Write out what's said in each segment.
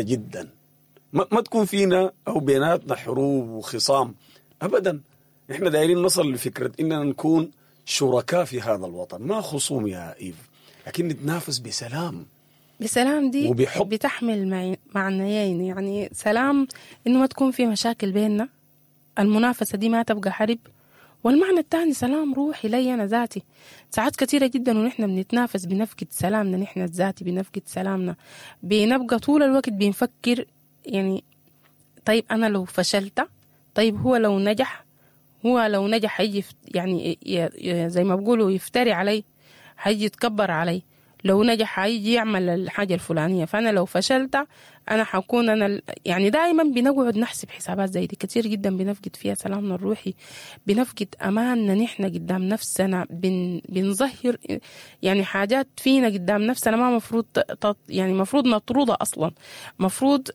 جدا. ما تكون فينا او بيناتنا حروب وخصام ابدا. احنا دايرين نصل لفكرة اننا نكون شركاء في هذا الوطن، ما خصوم يا ايف، لكن نتنافس بسلام. بسلام دي وبحب. بتحمل معنيين، يعني سلام انه ما تكون في مشاكل بيننا، المنافسة دي ما تبقى حرب، والمعنى الثاني سلام روحي لي أنا ذاتي. ساعات كثيرة جدا ونحن بنتنافس بنفقد سلامنا نحن الذاتي، بنفقد سلامنا، بنبقى طول الوقت بنفكر يعني طيب أنا لو فشلت، طيب هو لو نجح، هو لو نجح حيجي يعني زي ما بقولوا يفتري علي، حيجي يتكبر علي، لو نجح حيجي يعمل الحاجة الفلانية، فأنا لو فشلت أنا حكون أنا يعني دائما بنقعد نحسب حسابات زي دي كتير جدا، بنفقد فيها سلامنا الروحي، بنفقد أماننا نحن قدام نفسنا، بنظهر يعني حاجات فينا قدام نفسنا ما مفروض يعني مفروض نطردها أصلا. مفروض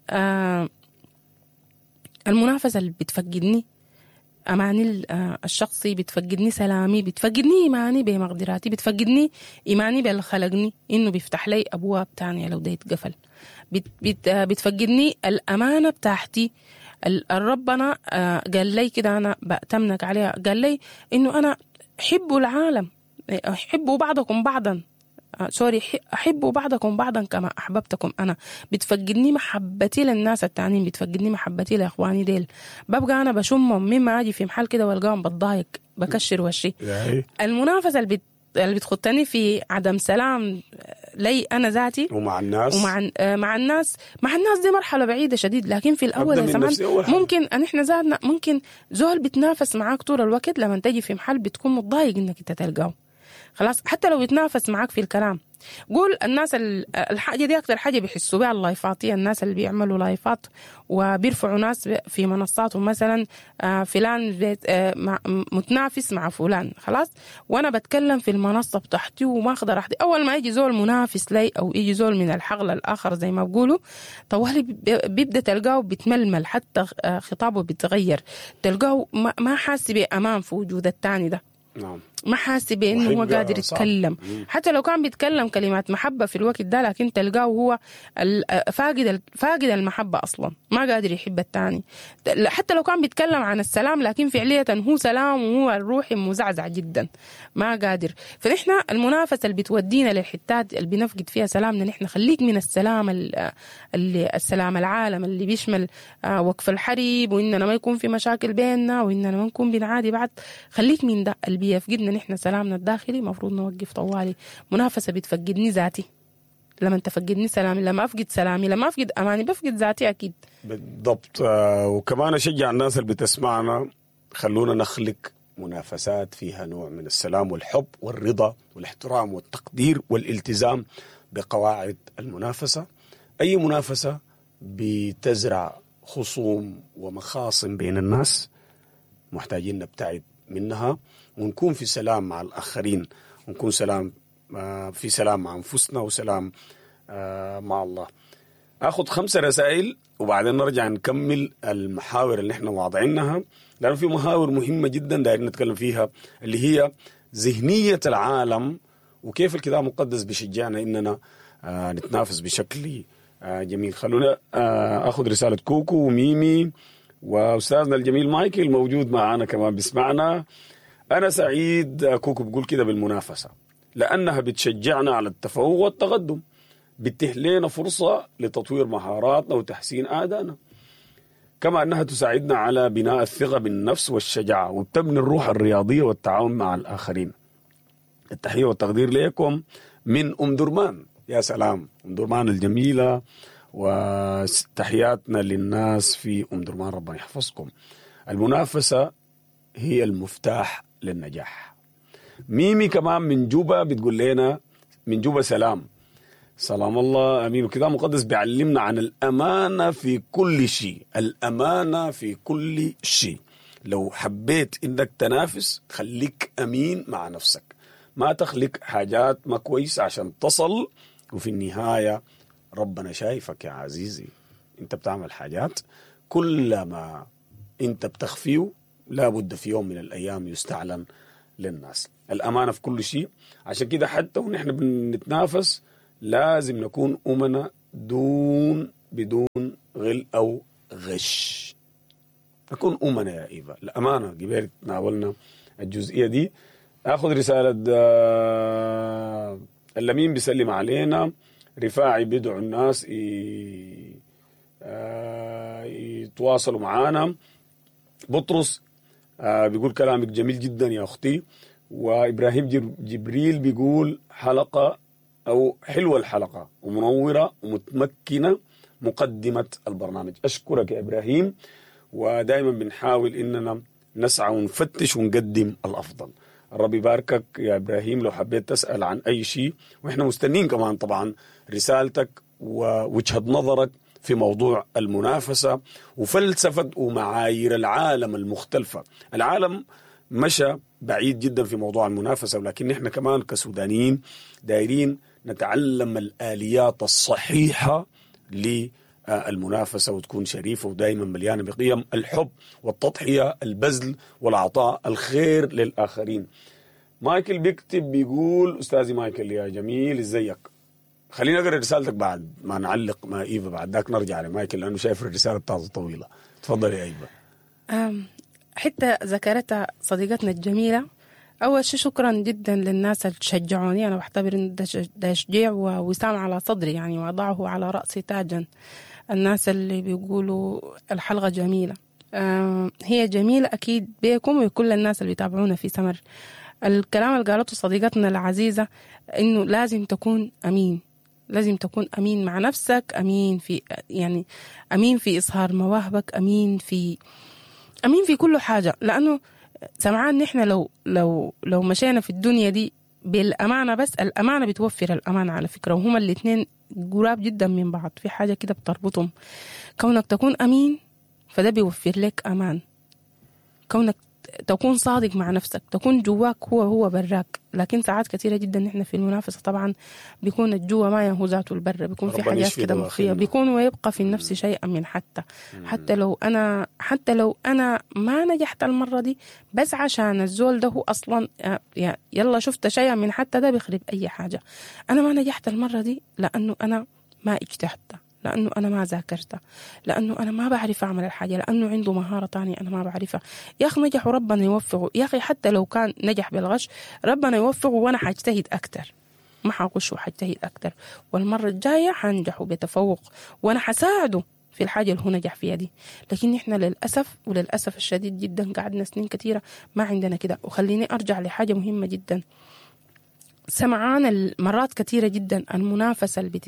المنافسة اللي بتفقدني أماني الشخصي، بتفقدني سلامي، بتفقدني إيماني بمقدراتي، بتفقدني إيماني باللي خلقني إنه بيفتح لي أبواب تانية لو ده يتقفل، بتفقدني الأمانة بتاعتي. ربنا قال لي كده، أنا بأتمنك عليها، قال لي إنه أنا حبوا العالم، حبوا بعضكم بعضا، سوري، أحبوا بعضكم بعضا كما أحببتكم أنا. بتفقدني محبتي للناس التانيين، بتفقدني محبتي لإخواني ديل، ببقى أنا بشمهم مما أجي في محل كده والقاهم بتضايق، بكشر وشي. المنافسة اللي بتخطني في عدم سلام لي أنا ذاتي ومع الناس، ومع مع الناس، مع الناس دي مرحلة بعيدة شديد. لكن في الأول يا سمان ممكن أن إحنا ذاتنا ممكن زول بتنافس معاك طول الوقت، لما تجي في محل بتكون متضايق إنك أنت تلقاه خلاص، حتى لو يتنافس معاك في الكلام. قول الناس الحاجة دي أكتر حاجة بيحسوا بها اللايفاتية، الناس اللي بيعملوا لايفات وبيرفعوا ناس في منصاتهم، مثلا فلان متنافس مع فلان، خلاص وأنا بتكلم في المنصة بتاعتي وما أخذ راحتي، أول ما يجي زول منافس لي أو يجي زول من الحقل الآخر زي ما بقولوا، طوالي بيبدأ تلقاه بيتململ، حتى خطابه بيتغير، تلقاه ما حاسس بأمان في وجود التاني ده. نعم. ما حاسس بانه هو قادر يتكلم، حتى لو كان بيتكلم كلمات محبة في الوقت ده، لكن تلقاه هو فاقد المحبة اصلا، ما قادر يحب الثاني. حتى لو كان بيتكلم عن السلام، لكن فعليا هو سلام وهو الروحي مزعزع جدا، ما قادر. فنحن المنافسة اللي بتودينا للحتات اللي بنفقد فيها سلامنا نحن، خليك من السلام اللي السلام العالم اللي بيشمل وقف الحرب واننا ما يكون في مشاكل بيننا واننا ما نكون بنعادي بعض، خليك من ده اللي بيفقدنا نحن سلامنا الداخلي. مفروض نوقف طوالي. منافسة بتفقدني ذاتي، لما تفقدني سلامي، لما أفقد سلامي، لما أفقد أماني، بفقد ذاتي أكيد. بالضبط. وكمان أشجع الناس اللي بتسمعنا، خلونا نخلق منافسات فيها نوع من السلام والحب والرضا والاحترام والتقدير والالتزام بقواعد المنافسة. أي منافسة بتزرع خصوم ومخاصم بين الناس محتاجين نبتعد منها، ونكون في سلام مع الآخرين، ونكون سلام في سلام مع أنفسنا وسلام مع الله. أخذ 5 رسائل وبعدين نرجع نكمل المحاور اللي احنا واضعينها، لأنه في محاور مهمة جدا دايرين نتكلم فيها، اللي هي ذهنية العالم وكيف الكتاب المقدس بيشجعنا إننا نتنافس بشكل جميل. خلونا أخذ رسالة كوكو وميمي وأستاذنا الجميل مايكل موجود معنا كمان بيسمعنا. أنا سعيد كوكو بقول كده بالمنافسة، لأنها بتشجعنا على التفوق والتقدم، بتتيح لنا فرصة لتطوير مهاراتنا وتحسين أدائنا، كما أنها تساعدنا على بناء الثقة بالنفس والشجاعة، وبتبني الروح الرياضية والتعاون مع الآخرين. التحية والتقدير لكم من أم درمان. يا سلام، أم درمان الجميلة، وتحياتنا للناس في أم درمان، ربنا يحفظكم. المنافسة هي المفتاح للنجاح. ميمي كمان من جوبا بتقول لنا من جوبا سلام، سلام الله أمين. وكتاب المقدس بيعلمنا عن الأمانة في كل شيء، الأمانة في كل شيء. لو حبيت إنك تنافس خليك أمين مع نفسك، ما تخلق حاجات ما كويس عشان تصل، وفي النهاية ربنا شايفك يا عزيزي، انت بتعمل حاجات كل ما انت بتخفيه لابد في يوم من الأيام يستعلن للناس. الأمانة في كل شيء، عشان كده حتى ونحن بنتنافس لازم نكون أمنا دون بدون غل أو غش. نكون أمنا يا إيفا، الأمانة قبل تناولنا الجزئية دي. أخذ رسالة اللمين بيسلم علينا، رفاعي بيدعو الناس يتواصلوا معانا. بطرس بيقول كلامك جميل جدا يا أختي. وإبراهيم جبريل بيقول حلقة أو حلوة الحلقة ومنورة ومتمكنة مقدمة البرنامج. أشكرك يا إبراهيم، ودائما بنحاول إننا نسعى ونفتش ونقدم الأفضل. الرب يباركك يا إبراهيم. لو حبيت تسأل عن أي شيء، وإحنا مستنين كمان طبعا رسالتك ووجهة نظرك في موضوع المنافسة وفلسفة ومعايير العالم المختلفة. العالم مشى بعيد جدا في موضوع المنافسة، ولكن نحن كمان كسودانيين دايرين نتعلم الآليات الصحيحة للمنافسة وتكون شريفة ودائما مليانة بقيم الحب والتضحية، البذل والعطاء، الخير للآخرين. مايكل بيكتب بيقول أستاذي مايكل يا جميل ازيك. خلينا نقرأ رسالتك بعد ما نعلق مع إيفا، بعد ذاك نرجع لمايكل لأنه شايف الرسالة بتاعته طويلة. تفضل يا إيفا. حتى ذكرتها صديقتنا الجميلة. أول شيء شكرا جدا للناس اللي شجعوني، أنا بعتبر إن ده تشجيع ووسام على صدري يعني، وأضعه على رأسي تاجا. الناس اللي بيقولوا الحلقة جميلة، هي جميلة أكيد بيكم وكل الناس اللي بيتابعونا في سمر. الكلام اللي قالته صديقتنا العزيزة إنه لازم تكون أمين، لازم تكون أمين مع نفسك، أمين في يعني أمين في إظهار مواهبك، أمين في كل حاجة. لأنه سمعان نحن لو لو لو مشينا في الدنيا دي بالأمانة بس، الأمانة بتوفر الأمانة على فكرة، وهما الاثنين قراب جدا من بعض، في حاجة كده بتربطهم. كونك تكون أمين فده بيوفر لك أمان، كونك تكون صادق مع نفسك، تكون جواك هو براك. لكن ساعات كثيرة جدا نحن في المنافسة طبعا بيكون الجوا ما يهو ذاته البر، بيكون في حاجات كده مخفية، بيكون ويبقى في النفس شيئا من حتى لو أنا ما نجحت المرة دي، بس عشان الزول ده هو أصلا يلا شفت شيئا من حتى ده بيخرب أي حاجة. أنا ما نجحت المرة دي لأنه أنا ما اجتهدت، لأنه أنا ما ذاكرت، لأنه أنا ما بعرف أعمل الحاجة، لأنه عنده مهارة تانية أنا ما بعرفها. يا أخي نجح وربنا يوفقه، يا أخي حتى لو كان نجح بالغش ربنا يوفقه، وأنا حاجتهد أكتر، ما حغش وحاجتهد أكتر، والمرة الجاية حنجح بتفوق وأنا حساعده في الحاجة اللي هو نجح فيها دي. لكن إحنا للأسف وللأسف الشديد جدا قعدنا سنين كثيرة ما عندنا كده. وخليني أرجع لحاجة مهمة جدا، سمعان المرات كثيرة جدا المنافسة اللي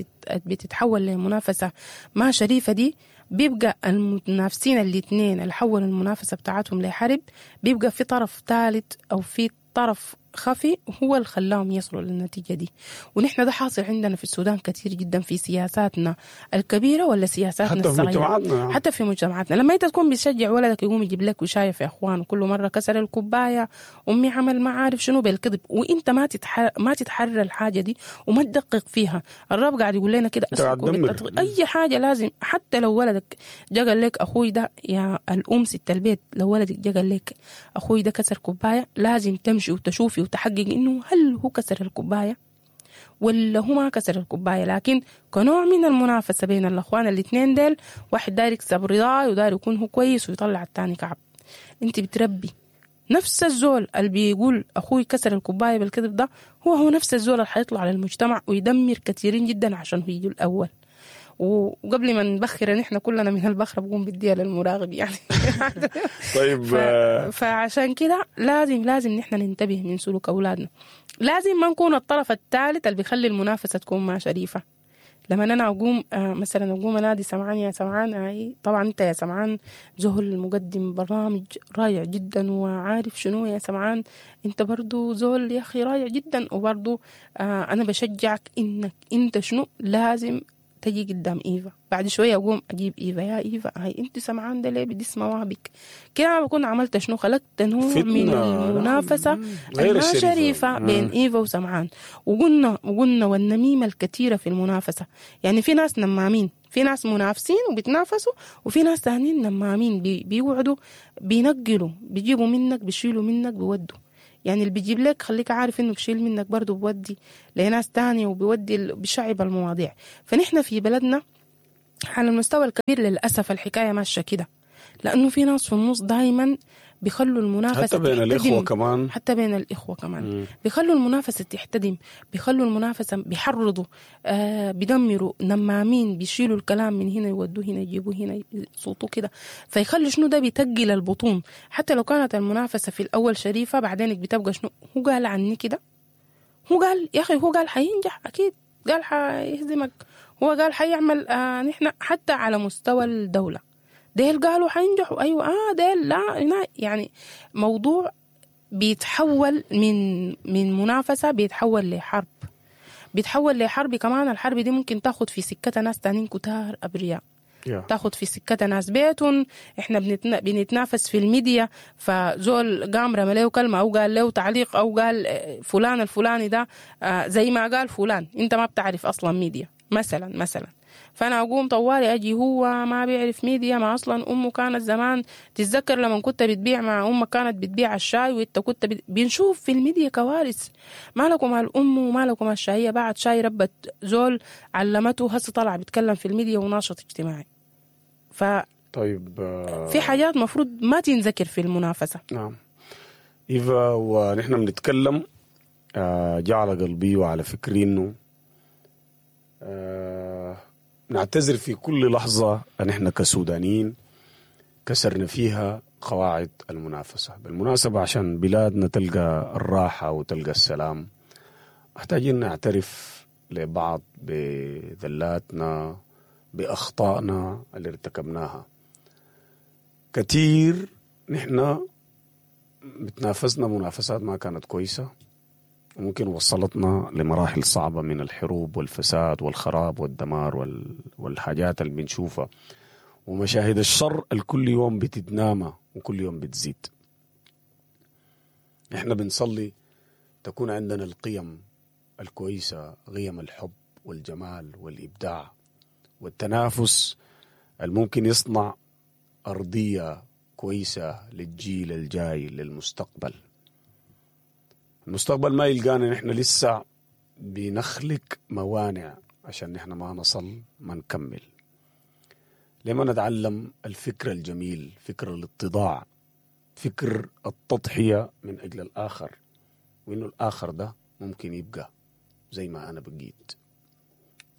بتتحول لمنافسة ما شريفة دي، بيبقى المتنافسين الاثنين اللي حولوا المنافسة بتاعتهم لحرب، بيبقى في طرف ثالث أو في طرف خفي هو اللي خلاهم يصلوا للنتيجة دي. ونحن ده حاصل عندنا في السودان كثير جدا في سياساتنا الكبيرة ولا سياساتنا حتى الصغيرة، في مجتمعاتنا، حتى في مجتمعاتنا. لما انت تكون بتشجع ولدك يقوم يجيب لك وشايف يا اخوان كل مرة كسر الكوباية، امي عمل ما عارف شنو بالكذب، وانت ما تتحرى الحاجة دي وما تدقق فيها. الرب قاعد يقول لنا كده اي حاجة لازم، حتى لو ولدك جا قال لك اخوي ده، يا الام ست البيت، لو ولدك جا قال لك اخوي ده كسر كوباية، لازم تمشي وتشوفي وتحقق إنه هل هو كسر الكوباية ولا هو ما كسر الكوباية. لكن كنوع من المنافسة بين الأخوان الاثنين ديل، واحد داير يكسب رضاه وداير يكون هو كويس ويطلع التاني كعب. انت بتربي نفس الزول اللي بيقول أخوي كسر الكوباية بالكذب ده، هو نفس الزول اللي حيطلع للمجتمع ويدمر كثيرين جدا عشان هو يجي الأول. وقبل ما نبخر نحن كلنا من البخرة بقوم بديها للمراقب يعني. طيب فعشان كده لازم نحن ننتبه من سلوك أولادنا، لازم ما نكون الطرف الثالث اللي بيخلي المنافسة تكون ما شريفة. لما أنا أقوم مثلا أقوم أنادي سمعان، يا سمعان، هاي طبعا أنت يا سمعان زهل مقدم برنامج رائع جدا وعارف شنو، يا سمعان أنت برضو زول يا أخي رائع جدا، وبرضو أنا بشجعك إنك أنت شنو لازم تجي قدام إيفا. بعد شوية أقوم أجيب إيفا، يا إيفا هاي أنت سمعان ده ليه بدس مواهبك كده؟ أنا بكون عملت شنو؟ خلقت نوع من المنافسة الما شريفة بين إيفا وسمعان. وقلنا والنميمة الكثيرة في المنافسة، يعني في ناس نمامين، في ناس منافسين وبيتنافسوا، وفي ناس تانيين نمامين بيوعدوا، بينقلوا، بيجيبوا منك، بيشيلوا منك، بيودوا. يعني اللي بيجيب لك خليك عارف انه بشيل منك برضه، بودي لناس تانية وبيودي بشعب المواضيع. فنحن في بلدنا على المستوى الكبير للأسف الحكاية ماشية كده، لأنه في ناس في النص دايما بيخلوا المنافسة حتى بين الإخوة كمان، حتى بين الإخوة كمان بيخلوا المنافسة تحتدم، بيخلوا المنافسة، بيحرضوا، بيدمروا، نمامين، بيشيلوا الكلام من هنا يودوه هنا، يجيبوه هنا، يصوتوا كده، فيخلوا شنو ده بيتقل البطون. حتى لو كانت المنافسة في الأول شريفة، بعدين بتبقى شنو، هو قال عني كده، هو قال يا أخي، هو قال حينجح أكيد، قال حيهزمك، هو قال حيعمل. نحن حتى على مستوى الدولة ديل قالوا حينجحوا، أيوة، ديل لا، يعني موضوع بيتحول من منافسة بيتحول لحرب، بيتحول لحرب كمان. الحرب دي ممكن تاخد في سكتها ناس تانيين كتار أبرياء، تاخد في سكتها ناس بيتهم. احنا بنتنافس في الميديا، فزول قام رمى له كلمة أو قال له تعليق أو قال فلان الفلاني ده زي ما قال فلان، انت ما بتعرف أصلا ميديا مثلا، فأنا أقوم طوالي أجي هو ما بيعرف ميديا، ما أصلا أمه كانت زمان، تتذكر لما كنت بتبيع مع أمك كانت بتبيع الشاي وإنت كنت بنشوف في الميديا كوارث، مالك ومال أمه ومالك ومال الشاية، بعد شاي ربت زول علمته، هسه طلع بيتكلم في الميديا وناشط اجتماعي. طيب في حاجات مفروض ما تنذكر في المنافسة. نعم إيفا، ونحن بنتكلم جعل قلبي وعلى فكري إنه نعتذر في كل لحظة أن إحنا كسودانيين كسرنا فيها قواعد المنافسة. بالمناسبة عشان بلادنا تلقى الراحة وتلقى السلام محتاجين نعترف لبعض بذلاتنا، بأخطائنا اللي ارتكبناها. كثير نحن بتنافسنا منافسات ما كانت كويسة، وممكن وصلتنا لمراحل صعبة من الحروب والفساد والخراب والدمار والحاجات اللي بنشوفها ومشاهد الشر الكل يوم بتتنامى وكل يوم بتزيد. احنا بنصلي تكون عندنا القيم الكويسة، قيم الحب والجمال والإبداع والتنافس الممكن يصنع أرضية كويسة للجيل الجاي، للمستقبل. المستقبل ما يلقانا نحن لسه بنخلق موانع عشان نحن ما نصل ما نكمل. لما نتعلم الفكر الجميل، فكر الاتضاع، فكر التضحية من أجل الآخر، وإنه الآخر ده ممكن يبقى زي ما أنا بقيت.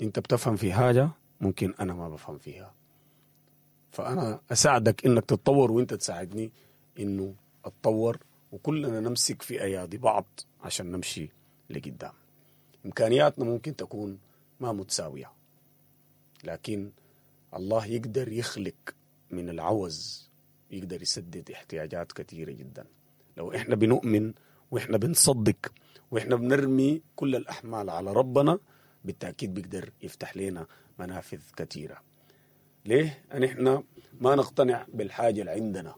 أنت بتفهم في حاجة ممكن أنا ما بفهم فيها، فأنا أساعدك إنك تتطور وإنت تساعدني إنه أتطور، وكلنا نمسك في أيادي بعض عشان نمشي لقدام. إمكانياتنا ممكن تكون ما متساوية، لكن الله يقدر يخلق من العوز، يقدر يسدد احتياجات كثيرة جدا لو إحنا بنؤمن وإحنا بنصدق وإحنا بنرمي كل الأحمال على ربنا. بالتأكيد بيقدر يفتح لنا منافذ كثيرة. ليه؟ أن إحنا ما نقتنع بالحاجة اللي عندنا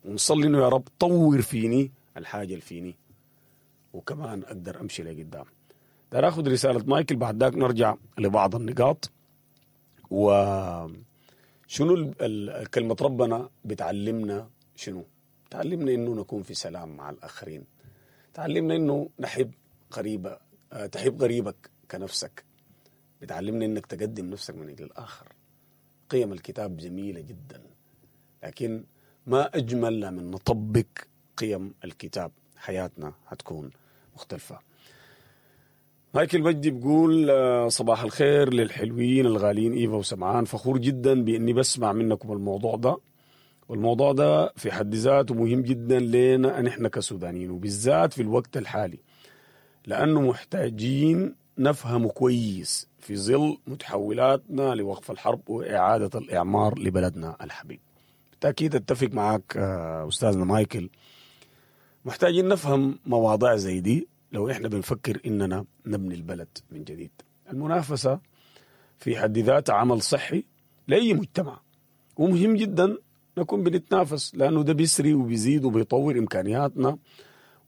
ونصلي إنه يا رب طور فيني الحاجة اللي فيني وكمان أقدر أمشي لقدام. ده أخذ رسالة مايكل، بعد ذاك نرجع لبعض النقاط. وشنو كلمة ربنا بتعلمنا؟ شنو تعلمنا؟ إنه نكون في سلام مع الآخرين، تعلمنا إنه نحب قريبة، تحب قريبك كنفسك، بتعلمنا إنك تقدم نفسك من أجل الآخر. قيم الكتاب جميلة جدا، لكن ما أجمل من نطبق قيم الكتاب، حياتنا هتكون مختلفة. مايكل مجدي بيقول صباح الخير للحلوين الغاليين إيفا وسمعان، فخور جدا بإني بسمع منكم الموضوع ده، والموضوع ده في حد ذاته مهم جدا لنا نحن كسودانيين، وبالذات في الوقت الحالي، لأنه محتاجين نفهم كويس في ظل متحولاتنا لوقف الحرب وإعادة الإعمار لبلدنا الحبيب. بالتأكيد أتفق معك أستاذنا مايكل، محتاجين نفهم مواضيع زي دي لو إحنا بنفكر إننا نبني البلد من جديد. المنافسة في حد ذاتها عمل صحي لأي مجتمع، ومهم جدا نكون بنتنافس، لأنه ده بيسري وبيزيد وبيطور إمكانياتنا،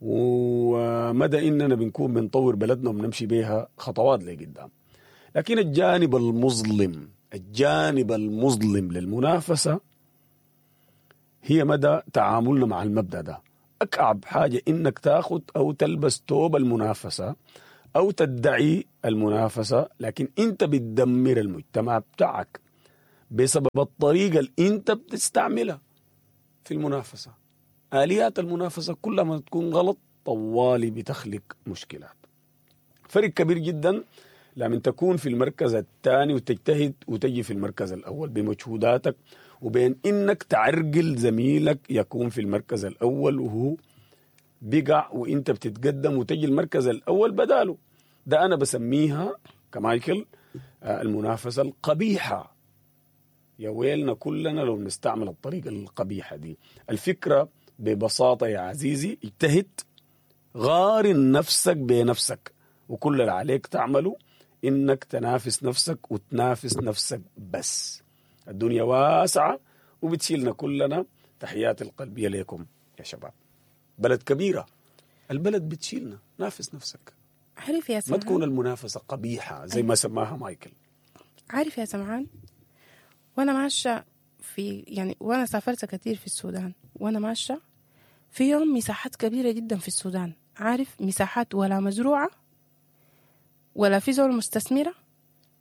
ومدى إننا بنكون بنطور بلدنا وبنمشي بيها خطوات لقدام. لكن الجانب المظلم، الجانب المظلم للمنافسة هي مدى تعاملنا مع المبدأ ده. أكعب حاجة إنك تاخد أو تلبس توب المنافسة أو تدعي المنافسة، لكن أنت بتدمر المجتمع بتاعك. بسبب الطريقة اللي انت بتستعملها في المنافسة. آليات المنافسة كلما تكون غلط طوالي بتخلق مشكلات. فرق كبير جدا لما تكون في المركز الثاني وتجتهد وتجي في المركز الأول بمجهوداتك، وبين إنك تعرقل زميلك يكون في المركز الأول وهو بقع وإنت بتتقدم وتجي المركز الأول بداله. ده أنا بسميها كمايكل المنافسة القبيحة. يا ويلنا كلنا لو نستعمل الطريقة القبيحة دي. الفكرة ببساطة يا عزيزي، اجتهد، غارن نفسك بنفسك، وكل اللي عليك تعمله إنك تنافس نفسك وتنافس نفسك بس. الدنيا واسعة وبتشيلنا كلنا. تحياتي القلبية لكم يا شباب. بلد كبيرة، البلد بتشيلنا. نافس نفسك. عارف يا ما سمعان، تكون المنافسة قبيحة زي ما سماها مايكل. عارف يا سمعان، وانا ماشية في يعني وانا سافرت كثير في السودان، وانا ماشية في يوم مساحات كبيرة جدا في السودان، عارف مساحات ولا مزروعة ولا في زول مستثمره،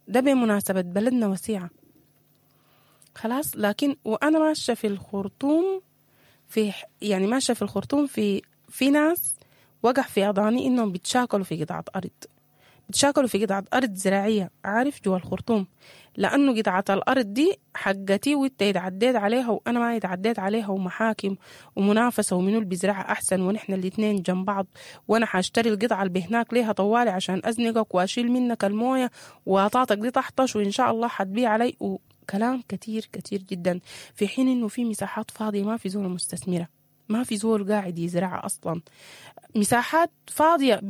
ده بمناسبة بلدنا وسيعه خلاص. لكن وانا ماشية في الخرطوم في يعني ماشية في الخرطوم في ناس وقع في اضاني انهم بيتشاكلوا في قطعه ارض، بيتشاكلوا في قطعة أرض زراعية، عارف جوا الخرطوم، لأنه قطعة الأرض دي حقتي وانت اتعديت عليها وأنا ما اتعديت عليها، ومحاكم ومنافسة ومنو اللي بيزرعها أحسن، ونحن الاتنين جنب بعض، وأنا حاشتري القطعة اللي بهناك ليها طوالي عشان أزنقك وأشيل منك الموية وأطاطك دي تحطش وإن شاء الله حتبيع علي، وكلام كتير كتير جدا. في حين إنه في مساحات فاضية ما في زول مستثمرة، ما في زول قاعد يزرعها أصلا، مساحات فاضية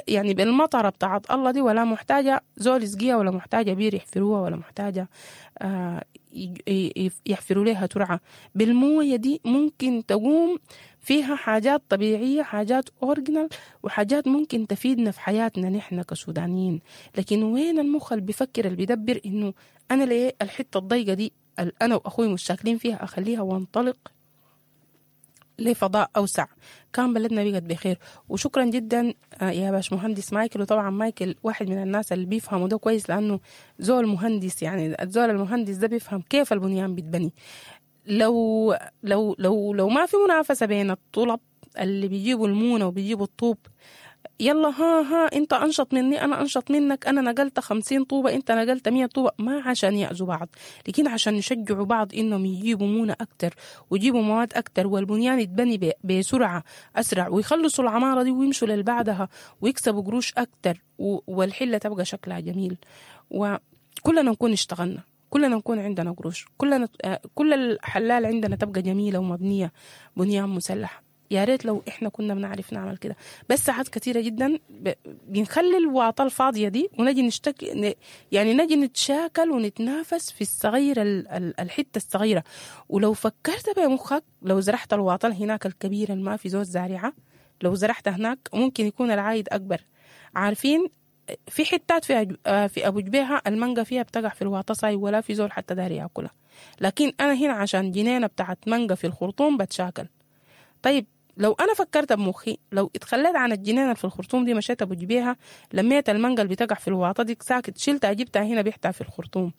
يعني بالمطرة بتاعت الله دي، ولا محتاجة زول يسقيها، ولا محتاجة بير يحفروها، ولا محتاجة يحفروا لها ترعة. بالموية دي ممكن تقوم فيها حاجات طبيعية، حاجات original، وحاجات ممكن تفيدنا في حياتنا نحن كسودانيين. لكن وين المخ اللي بيفكر اللي بيدبر إنه أنا ليه الحتة الضيقة دي اللي أنا وأخوي مشاكلين فيها أخليها وانطلق لفضاء أوسع؟ كان بلدنا بقت بخير. وشكرا جدا يا باش مهندس مايكل. وطبعا مايكل واحد من الناس اللي بيفهموا ده كويس، لأنه زول مهندس، يعني الزول المهندس ده بيفهم كيف البنيان بيتبني. لو لو لو لو ما في منافسة بين الطلب اللي بيجيبوا المونة وبيجيبوا الطوب، يلا ها انت انشط مني انا انشط منك، انا نقلت 50 طوبة انت نقلت 100 طوبة، ما عشان يأذوا بعض، لكن عشان يشجعوا بعض انهم يجيبوا مونة اكتر ويجيبوا مواد اكتر، والبنيان يتبني بسرعة اسرع، ويخلصوا العمارة دي ويمشوا للبعدها ويكسبوا قروش اكتر، والحلة تبقى شكلها جميل، وكلنا نكون اشتغلنا، كلنا نكون عندنا قروش، كلنا كل الحلال عندنا تبقى جميلة ومبنية بنيان مسلح. يا ريت لو احنا كنا بنعرف نعمل كده. بس ساعات كتيرة جدا بنخلي الواطة الفاضية دي ونجي نشتكي، يعني نجي نتشاكل ونتنافس في الصغيرة، الحتة الصغيرة. ولو فكرت بمخك لو زرعت الواطة هناك الكبيرة اللي ما في زوز زارعة، لو زرعت هناك ممكن يكون العائد أكبر. عارفين في حتات في أبو جبيهة المانجا فيها بتقع في الواطة ساي ولا في زول حتى داري ياكلها، لكن أنا هنا عشان جنينة بتاعت مانجا في الخرطوم بتشاكل. طيب لو أنا فكرت بمخي، لو اتخليت عن الجنينة في الخرطوم دي، مشيت أبو جبيهة لميت المانجا اللي بتقع في الواطة دي ساكت، شلتها جبتها هنا بيحتها في الخرطوم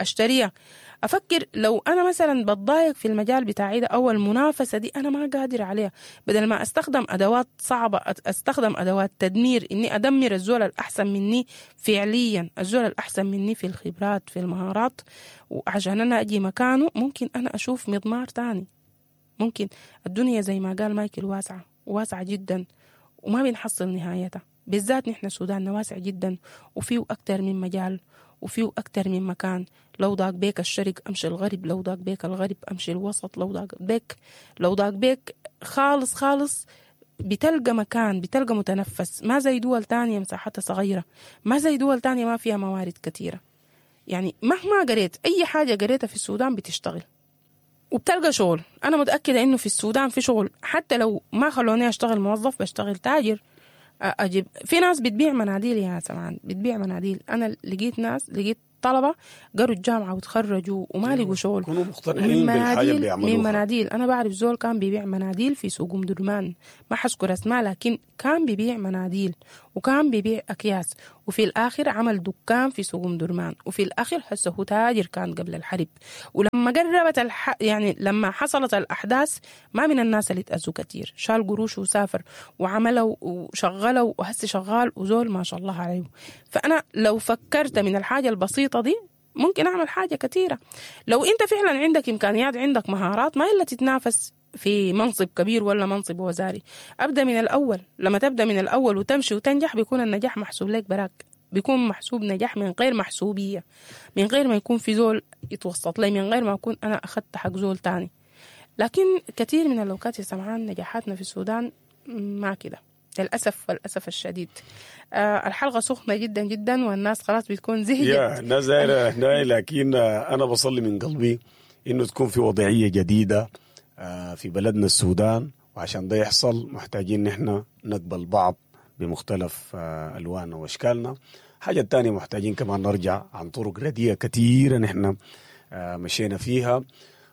أشتريها. أفكر لو أنا مثلا بتضايق في المجال بتاعي ده أو المنافسة دي أنا ما قادر عليها، بدل ما أستخدم أدوات صعبة أستخدم أدوات تدمير، إني أدمر الزول الأحسن مني فعليا، الزول الأحسن مني في الخبرات في المهارات، وعشان أنا أجي مكانه ممكن أنا أشوف مضمار تاني. ممكن الدنيا زي ما قال مايكل واسعة، واسعة جدا وما بنحصل نهايتها، بالذات نحن سوداننا واسع جدا وفيه أكتر من مجال وفيه أكتر من مكان. لو ضاق بيك الشرق أمشي الغرب، لو ضاق بيك الغرب أمشي الوسط، لو ضاق بيك خالص خالص بتلقى مكان، بتلقى متنفس. ما زي دول تانية مساحتها صغيرة، ما زي دول تانية ما فيها موارد كثيرة. يعني مهما قريت أي حاجة قريتها في السودان بتشتغل وبتلقى شغل. أنا متأكدة إنه في السودان في شغل، حتى لو ما خلوني أشتغل موظف بشتغل تاجر. أجيب في ناس بتبيع مناديل يا سمعان، بتبيع مناديل. أنا لقيت ناس، لقيت طلبة قروا الجامعة وتخرجوا وما لقوا شغل، كانوا مقتنعين بالحاجة اللي بيعملوها. من مناديل. أنا بعرف زول كان بيبيع مناديل في سوق أم درمان، ما حذكر أسماء، لكن كان بيبيع مناديل وكان بيبيع أكياس. وفي الآخر عمل دكان في سوق أم درمان، وفي الآخر هسه هو تاجر كان قبل الحرب. ولما قربت يعني لما حصلت الأحداث ما من الناس اللي اتأذوا كتير، شال قروش وسافر وعمله وشغله وهسه شغال وزول ما شاء الله عليه. فأنا لو فكرت من الحاجة البسيطة دي ممكن أعمل حاجة كثيرة. لو أنت فعلا عندك إمكانيات، عندك مهارات، ما إلا تتنافس في منصب كبير ولا منصب وزاري. أبدأ من الأول. لما تبدأ من الأول وتمشي وتنجح بيكون النجاح محسوب لك براك، بيكون محسوب نجاح من غير محسوبية، من غير ما يكون في زول يتوسط لي، من غير ما أكون أنا أخذت حق زول تاني. لكن كثير من الأوقات يا سمعان نجاحاتنا في السودان ما كده للأسف، والأسف الشديد. الحلقة سخنة جدا جدا والناس خلاص بتكون زهقت. يا الناس دايرة، لكن أنا بصلي من قلبي إنه تكون في وضعية جديدة في بلدنا السودان، وعشان ده يحصل محتاجين نحن نقبل بعض بمختلف ألواننا وأشكالنا. حاجة الثانية محتاجين كمان نرجع عن طرق رديئة كثيرة نحن مشينا فيها،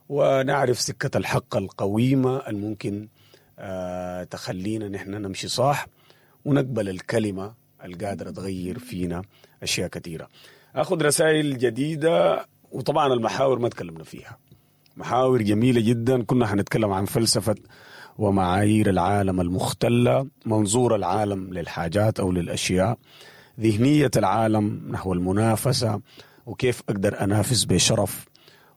ونعرف سكة الحق القويمة الممكن تخلينا نحن نمشي صح، ونقبل الكلمة القادرة تغير فينا أشياء كثيرة. أخذ رسائل جديدة، وطبعا المحاور ما تكلمنا فيها، محاور جميلة جدا. كنا حنتكلم عن فلسفة ومعايير العالم المختلة، منظور العالم للحاجات أو للأشياء، ذهنية العالم نحو المنافسة، وكيف أقدر أنافس بشرف،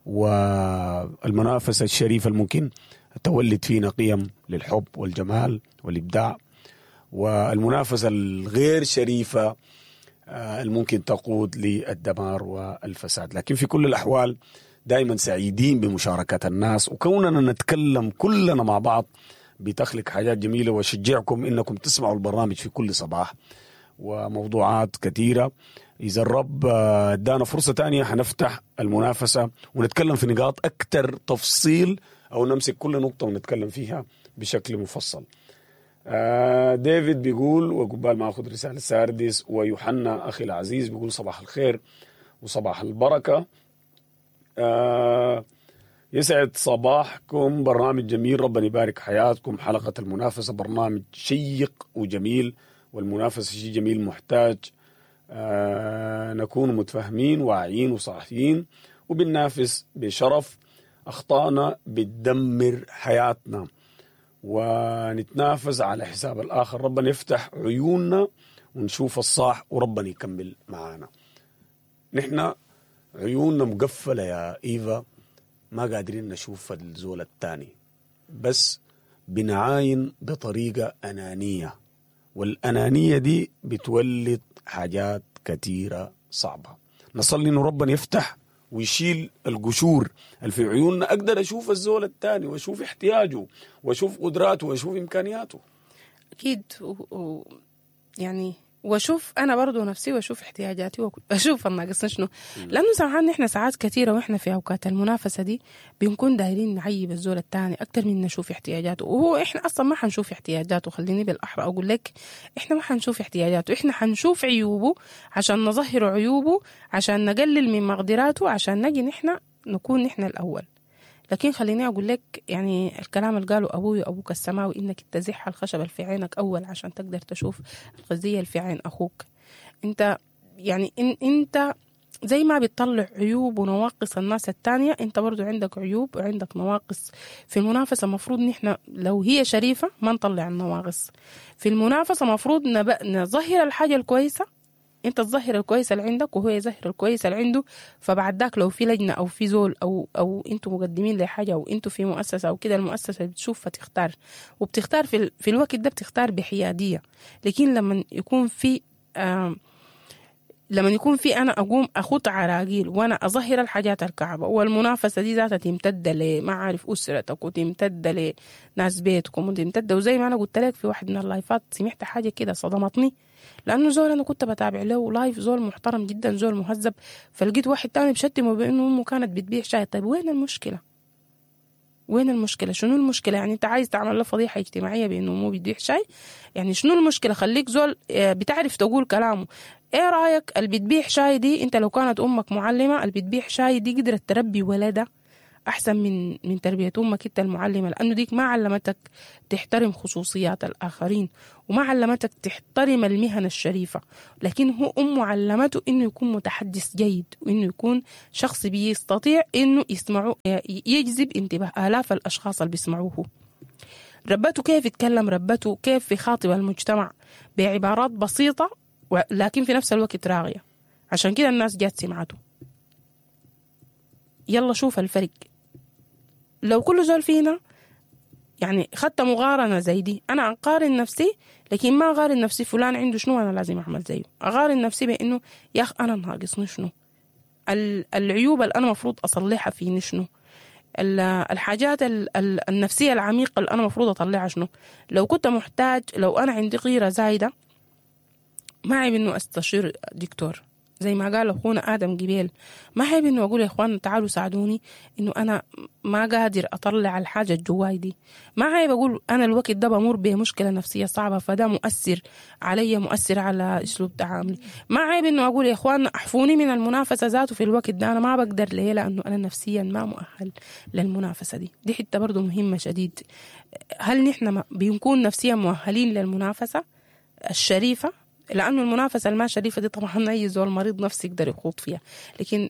والمنافسة الشريفة الممكن تولد فينا قيم للحب والجمال والإبداع، والمنافسة الغير شريفة الممكن تقود للدمار والفساد. لكن في كل الأحوال دائما سعيدين بمشاركة الناس، وكوننا نتكلم كلنا مع بعض بتخلق حاجات جميلة. وشجعكم إنكم تسمعوا البرنامج في كل صباح وموضوعات كثيرة. إذا الرب ادانا فرصة تانية حنفتح المنافسة ونتكلم في نقاط أكثر تفصيل، أو نمسك كل نقطة ونتكلم فيها بشكل مفصل. ديفيد بيقول، وقبال ما أخذ رسالة ساردس، ويوحنا أخي العزيز بيقول صباح الخير وصباح البركة. يسعد صباحكم، برنامج جميل، ربنا يبارك حياتكم. حلقة المنافسة برنامج شيق وجميل، والمنافسة شيء جميل محتاج نكون متفاهمين واعيين وصاحيين، وبننافس بشرف. أخطائنا بتدمر حياتنا، ونتنافس على حساب الآخر. ربنا يفتح عيوننا ونشوف الصح، وربنا يكمل معانا. نحن عيوننا مقفلة يا إيفا، ما قادرين نشوف الزول الثاني، بس بنعاين بطريقة أنانية، والأنانية دي بتولد حاجات كثيرة صعبة. نصلي إنه ربنا يفتح ويشيل القشور اللي في عيوننا، أقدر أشوف الزول الثاني وأشوف احتياجه وأشوف قدراته وأشوف إمكانياته. أكيد يعني واشوف انا برضو نفسي واشوف احتياجاتي واشوف الناقصنا شنو. لانه سبحان احنا ساعات كثيرة واحنا في اوقات المنافسة دي بنكون دايرين نعيب الزول الثاني اكثر من نشوف احتياجاته، وهو احنا اصلا ما حنشوف احتياجاته. خليني بالاحرى اقول لك احنا ما حنشوف احتياجاته، احنا حنشوف عيوبه عشان نظهر عيوبه، عشان نقلل من مقدراته، عشان نجي نحن نكون نحن الاول. لكن خليني أقول لك يعني الكلام اللي قاله أبوي وأبوك السماوي، إنك تزح الخشب في عينك أول عشان تقدر تشوف الغزية اللي في عين أخوك. أنت يعني إن أنت زي ما بتطلع عيوب ونواقص الناس التانية، أنت برضو عندك عيوب وعندك نواقص. في المنافسة مفروض نحن لو هي شريفة ما نطلع النواقص. في المنافسة مفروض نظهر الحاجة الكويسة، انت تظهر الكويس اللي عندك وهو يظهر الكويس اللي عنده. فبعد ذاك لو في لجنة او في زول او انتوا مقدمين لحاجة او انتوا في مؤسسة او كده، المؤسسة بتشوف فتختار، وبتختار في الوقت ده بتختار بحياديه. لكن لما يكون في انا اقوم اخوط عراقيل وانا اظهر الحاجات الكعبة، والمنافسه دي ذاتها تمتد لما عارف اسرتك وتمتد لناس بيتكم وتمتد. وزي ما انا قلت لك في واحد من اللايفات سمعت حاجة كده صدمتني، لانه زول انا كنت بتابع له live، زول محترم جدا، زول مهذب، فلقيت واحد تاني بشتمه بانه امه كانت بتبيع شاي. طيب وين المشكلة؟ وين المشكلة؟ شنو المشكلة؟ يعني انت عايز تعمل له فضيحة اجتماعية بانه امه بتبيع شاي؟ يعني شنو المشكلة؟ خليك زول بتعرف تقول كلامه. ايه رايك اللي بتبيع شاي دي، انت لو كانت امك معلمه، اللي بتبيع شاي دي قدرت تربي ولدها احسن من تربيه امك انت المعلمة، لانه ديك ما علمتك تحترم خصوصيات الاخرين وما علمتك تحترم المهن الشريفة، لكن هو امه علمته انه يكون متحدث جيد وانه يكون شخص بيستطيع انه يسمعه، يجذب انتباه الاف الاشخاص اللي بيسمعوه. ربته كيف يتكلم، ربته كيف يخاطب المجتمع بعبارات بسيطة لكن في نفس الوقت راغيه. عشان كده الناس جات سمعته. يلا شوف الفرق. لو كل زول فينا يعني خدت مقارنة زي دي، أنا أقارن نفسي لكن ما أقارن نفسي فلان عنده شنو أنا لازم أعمل زيه، أقارن نفسي بأنه يا أخ أنا ناقصني شنو، العيوب اللي أنا مفروض أصلحها فيني شنو، الحاجات النفسية العميقة اللي أنا مفروض أطلعها شنو. لو كنت محتاج، لو أنا عندي غيرة زايدة، ما عيب إنه أستشير دكتور زي ما قال أخونا آدم جبيل، ما عيب إنه أقول يا إخوان تعالوا ساعدوني إنه أنا ما قادر أطلع الحاجة الجواي دي. ما عيب أقول أنا الوقت ده بمر بمشكلة نفسية صعبة فده مؤثر علي، مؤثر على أسلوب تعاملي. ما عيب إنه أقول يا إخوان أحفوني من المنافسة ذاته في الوقت ده، أنا ما بقدر. ليه؟ لأنه أنا نفسيا ما مؤهل للمنافسة دي. دي حتة برضو مهمة شديد. هل نحن بنكون نفسيا مؤهلين للمنافسة الشريفة؟ لأنه المنافسة الما شريفة دي طبعا أي زول مريض نفسي يقدر يخوض فيها، لكن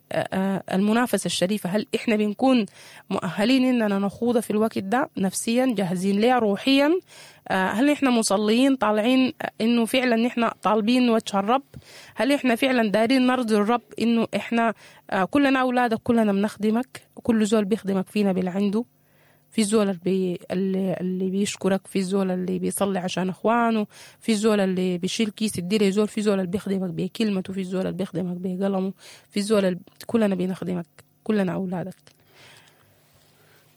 المنافسة الشريفة هل إحنا بنكون مؤهلين إننا نخوضها في الوقت ده نفسيا، جاهزين ليها روحيا؟ هل إحنا مصليين طالعين إنه فعلا إحنا طالبين وجه الرب؟ هل إحنا فعلا دارين نرضي الرب إنه إحنا كلنا أولادك، كلنا بنخدمك، كل زول بيخدمك فينا باللي عنده؟ في الزول اللي بيشكرك، في الزول اللي بيصلي عشان اخوانه، في الزول اللي بيشيل كيس يدي زول، في الزول اللي بيخدمك بكلمته، في الزول اللي بيخدمك بقلمه، في الزول اللي كلنا بنخدمك، كلنا اولادك.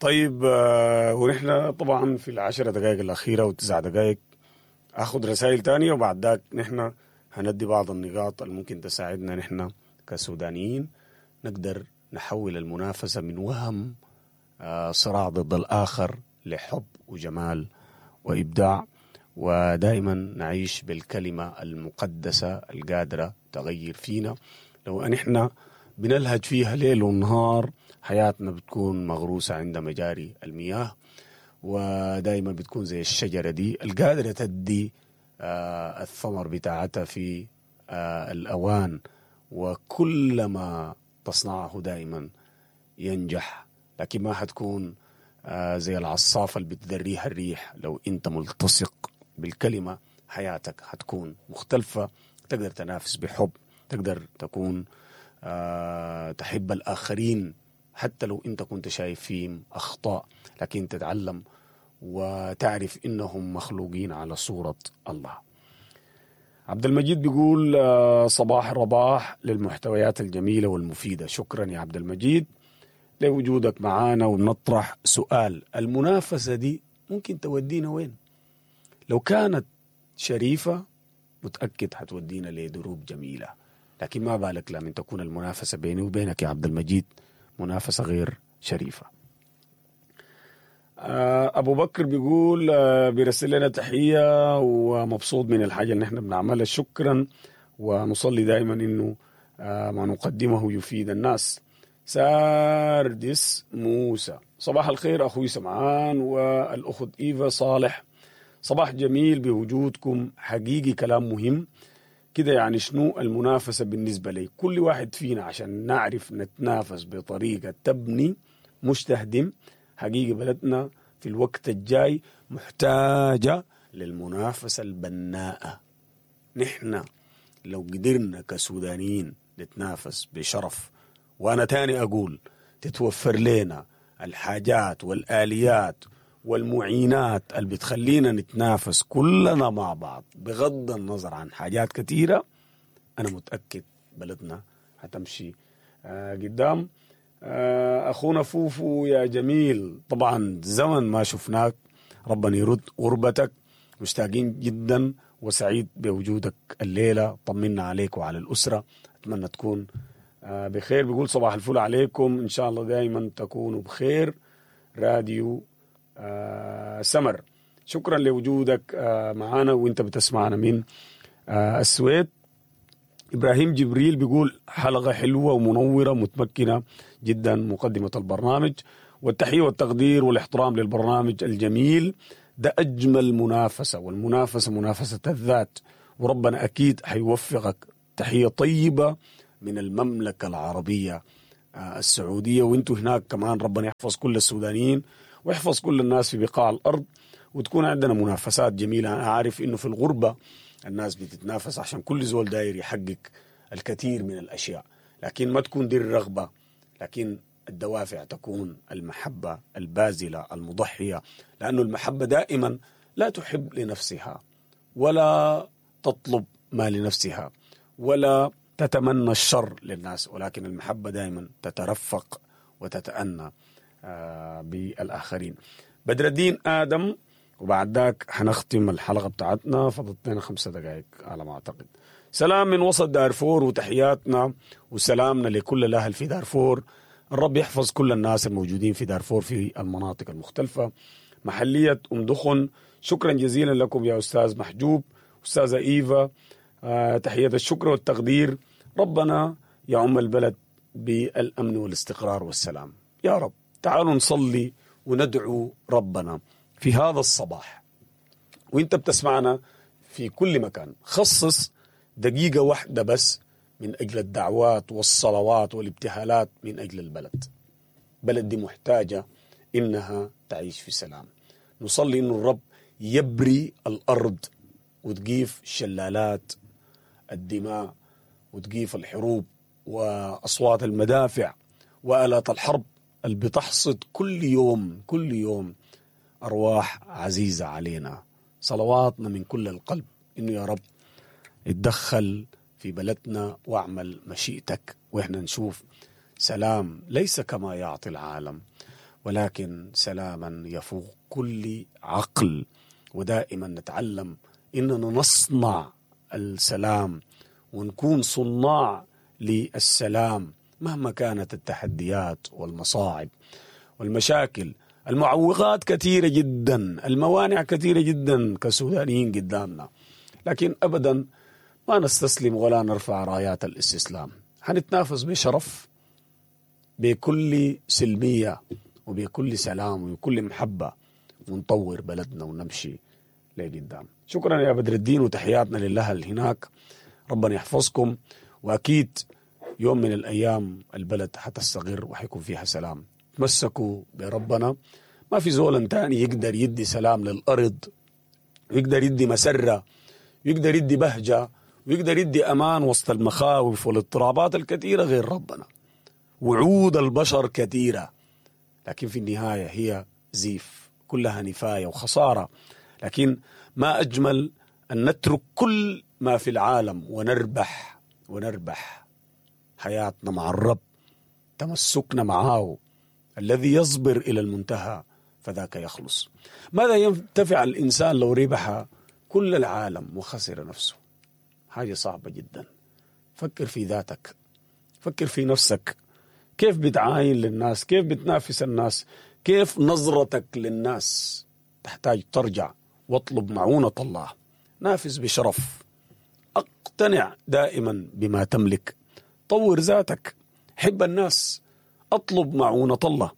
طيب ونحن طبعا في 10 دقائق الاخيرة و9 دقائق اخذ رسائل تانية، وبعد ذاك نحن هندي بعض النقاط اللي ممكن تساعدنا نحن كسودانيين نقدر نحول المنافسة من وهم صراع ضد الآخر لحب وجمال وإبداع، ودائما نعيش بالكلمة المقدسة القادرة تغير فينا. لو أن إحنا بنلهج فيها ليل ونهار حياتنا بتكون مغروسة عند مجاري المياه، ودائما بتكون زي الشجرة دي القادرة تدي الثمر بتاعتها في الأوان، وكل ما تصنعه دائما ينجح، لكن ما حتكون زي العصافة اللي بتدريها الريح. لو انت ملتصق بالكلمة حياتك حتكون مختلفة، تقدر تنافس بحب، تقدر تكون تحب الآخرين حتى لو انت كنت شايف فيهم أخطاء، لكن تتعلم وتعرف إنهم مخلوقين على صورة الله. عبد المجيد بيقول صباح رباح للمحتويات الجميلة والمفيدة. شكرا يا عبد المجيد لوجودك معانا. ونطرح سؤال، المنافسة دي ممكن تودينا وين؟ لو كانت شريفة متأكد حتودينا لدروب جميلة، لكن ما بالك لما تكون المنافسة بيني وبينك يا عبد المجيد منافسة غير شريفة. أبو بكر بيقول بيرسل لنا تحية ومبسوط من الحاجة اللي احنا بنعملها، شكرا، ونصلي دائما إنه ما نقدمه يفيد الناس. ساردس موسى، صباح الخير أخوي سمعان والأخت إيفا صالح، صباح جميل بوجودكم، حقيقي كلام مهم كده. يعني شنو المنافسة بالنسبة لي؟ كل واحد فينا عشان نعرف نتنافس بطريقة تبني مش تهدم. حقيقي بلدنا في الوقت الجاي محتاجة للمنافسة البناءة. نحن لو قدرنا كسودانيين نتنافس بشرف، وأنا تاني أقول تتوفر لنا الحاجات والآليات والمعينات اللي بتخلينا نتنافس كلنا مع بعض بغض النظر عن حاجات كثيرة، أنا متأكد بلدنا هتمشي قدام. أخونا فوفو يا جميل، طبعا زمن ما شفناك، ربنا يرد غربتك، مشتاقين جدا وسعيد بوجودك الليلة، طمنا عليك وعلى الأسرة، أتمنى تكون بخير. بيقول صباح الفل عليكم، إن شاء الله دائما تكونوا بخير. راديو سمر، شكرا لوجودك معنا وانت بتسمعنا من السويد. إبراهيم جبريل بيقول حلقة حلوة ومنورة متمكنة جدا مقدمة البرنامج، والتحية والتقدير والاحترام للبرنامج الجميل ده. أجمل منافسة، والمنافسة منافسة الذات، وربنا أكيد حيوفقك. تحية طيبة من المملكة العربية السعودية، وانتوا هناك كمان ربنا يحفظ كل السودانيين ويحفظ كل الناس في بقاع الأرض، وتكون عندنا منافسات جميلة. أنا عارف إنه في الغربة الناس بتتنافس عشان كل زول داير يحقق الكثير من الأشياء، لكن ما تكون دي الرغبة، لكن الدوافع تكون المحبة البازلة المضحية، لأنه المحبة دائما لا تحب لنفسها ولا تطلب ما لنفسها ولا تتمنى الشر للناس، ولكن المحبة دائما تترفق وتتأنى بالآخرين. بدر الدين آدم، وبعد ذاك حنختم الحلقة بتاعتنا، فضلت لنا 5 دقائق على ما أعتقد. سلام من وسط دارفور، وتحياتنا وسلامنا لكل الأهل في دارفور. الرب يحفظ كل الناس الموجودين في دارفور في المناطق المختلفة. محلية أم دخن، شكرا جزيلا لكم يا أستاذ محجوب، أستاذة إيفا، تحية الشكر والتقدير. ربنا يعم البلد بالأمن والاستقرار والسلام يا رب. تعالوا نصلي وندعو ربنا في هذا الصباح، وانت بتسمعنا في كل مكان. خصص دقيقة واحدة بس من أجل الدعوات والصلوات والابتهالات من أجل البلد. بلد دي محتاجة إنها تعيش في سلام. نصلي إنه الرب يبري الأرض وتقيف شلالات الدماء وتقيف الحروب وأصوات المدافع وآلات الحرب اللي بتحصد كل يوم كل يوم أرواح عزيزة علينا. صلواتنا من كل القلب إنه يا رب اتدخل في بلدنا واعمل مشيئتك، وإحنا نشوف سلام ليس كما يعطي العالم، ولكن سلاما يفوق كل عقل. ودائما نتعلم إننا نصنع السلام ونكون صناع للسلام مهما كانت التحديات والمصاعب والمشاكل. المعوقات كثيرة جدا، الموانع كثيرة جدا كسودانيين قدامنا، لكن أبدا ما نستسلم ولا نرفع رايات الاستسلام. هنتنافس بشرف، بكل سلمية وبكل سلام وبكل محبة، ونطور بلدنا ونمشي لقدام. شكرا يا بدر الدين، وتحياتنا لله هناك، ربنا يحفظكم. وأكيد يوم من الأيام البلد حتستقر وحيكون فيها سلام. تمسكوا بربنا، ما في زول تاني يقدر يدي سلام للأرض، ويقدر يدي مسرة، ويقدر يدي بهجة، ويقدر يدي أمان وسط المخاوف والاضطرابات الكثيرة غير ربنا. وعود البشر كثيرة، لكن في النهاية هي زيف، كلها نفاية وخسارة. لكن ما أجمل أن نترك كل ما في العالم ونربح حياتنا مع الرب، تمسكنا معه الذي يصبر إلى المنتهى فذاك يخلص. ماذا ينتفع الإنسان لو ربح كل العالم وخسر نفسه؟ حاجة صعبة جدا. فكر في ذاتك، فكر في نفسك، كيف بتعاين للناس، كيف بتنافس الناس، كيف نظرتك للناس. تحتاج ترجع واطلب معونة الله. نافس بشرف، اقتنع دائما بما تملك، طور ذاتك، حب الناس، اطلب معونة الله،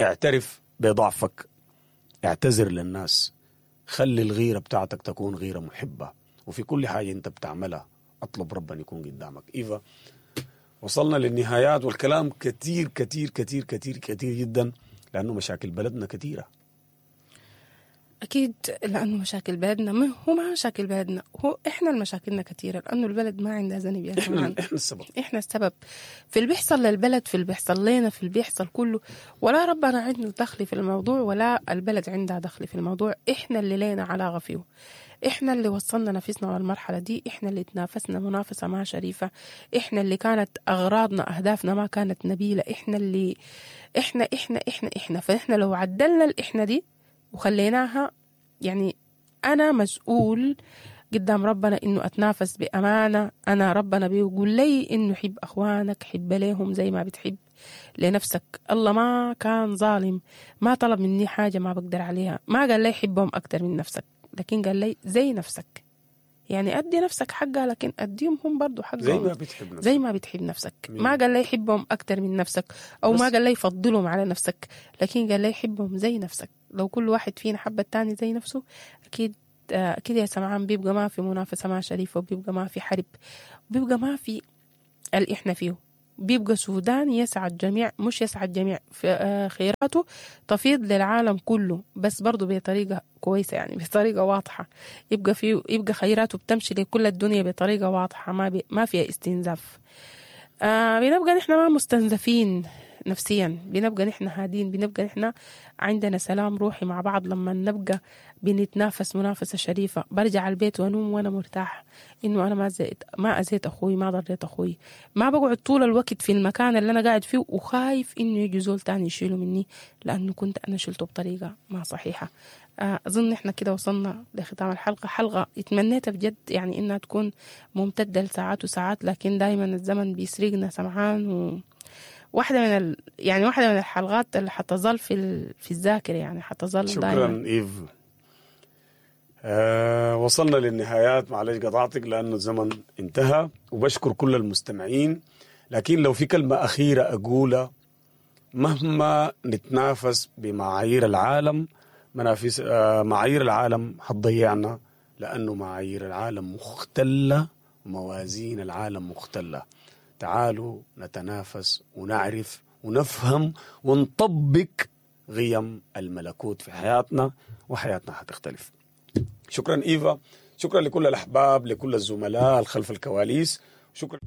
اعترف بضعفك، اعتذر للناس، خلي الغيرة بتاعتك تكون غيرة محبة، وفي كل حاجة انت بتعملها اطلب ربنا يكون قدامك. إيفا، وصلنا للنهايات، والكلام كتير كتير كتير كتير كتير جدا، لأنه مشاكل بلدنا كثيرة. أكيد، لأنه مشاكل بلدنا ما هو ما مشاكل بلدنا، هو إحنا المشاكلنا كثيرة، لأنه البلد ما عندها ذنب يا جماعة. إحنا السبب، إحنا السبب في اللي بيحصل للبلد، في اللي بيحصل لنا، في اللي بيحصل كله. ولا ربنا عنده دخل في الموضوع، ولا البلد عندها دخل في الموضوع. إحنا اللي لنا علاقة فيه، إحنا اللي وصلنا نفسنا للمرحلة دي، إحنا اللي تنافسنا منافسة ما شريفة، إحنا اللي كانت أغراضنا أهدافنا ما كانت نبيلة، إحنا اللي إحنا إحنا إحنا إحنا. فإحنا لو عدلنا الإحنا دي وخليناها، يعني أنا مسؤول قدام ربنا إنه أتنافس بأمانة. أنا ربنا بيقول لي إنه حب أخوانك، حب ليهم زي ما بتحب لنفسك. الله ما كان ظالم، ما طلب مني حاجة ما بقدر عليها، ما قال لي حبهم أكتر من نفسك، لكن قال لي زي نفسك. يعني أدي نفسك حقها، لكن أديهم هم برضو حقهم زي ما بتحب نفسك. زي ما بتحب نفسك. ما قال لي حبهم أكتر من نفسك، أو ما قال لي فضلهم على نفسك، لكن قال لي حبهم زي نفسك. لو كل واحد فينا حب التاني زي نفسه، أكيد أكيد يا سمعان بيبقى ما في منافسة ما شريفة، وبيبقى ما في حرب، بيبقى ما في اللي إحنا فيه. بيبقى سودان يسعى الجميع، مش يسعى الجميع في خيراته تفيض للعالم كله، بس برضو بطريقة كويسة، يعني بطريقة واضحة. يبقى فيه، يبقى خيراته بتمشي لكل الدنيا بطريقة واضحة، ما فيها استنزاف. بنبقى نحن ما مستنزفين نفسيا، بنبقى نحن هادين، بنبقى نحن عندنا سلام روحي مع بعض. لما نبقى بنتنافس منافسة شريفة، برجع البيت وانوم وانا مرتاح انه انا ما اذيت اخوي، ما ضريت اخوي، ما بقعد طول الوقت في المكان اللي انا قاعد فيه وخايف انه يجي زول تاني يشيله مني لانه كنت انا شلته بطريقة ما صحيحة. اظن احنا كده وصلنا لختام الحلقة. حلقة اتمنيتها بجد يعني انها تكون ممتدة لساعات وساعات، لكن دايما الزمن بيسرقنا سمعان. و واحدة من يعني واحدة من الحلقات اللي حتظل في الذاكرة، يعني حتظل شكرا دايما. إيف. وصلنا للنهايات، معلش قطعتك لأنه الزمن انتهى، وبشكر كل المستمعين. لكن لو في كلمة أخيرة أقولها، مهما نتنافس بمعايير العالم، معايير العالم حتضيعنا، لأنه معايير العالم مختلة وموازين العالم مختلة. تعالوا نتنافس ونعرف ونفهم ونطبق قيم الملكوت في حياتنا، وحياتنا حتختلف. شكرا إيفا، شكرا لكل الأحباب، لكل الزملاء خلف الكواليس، شكرا.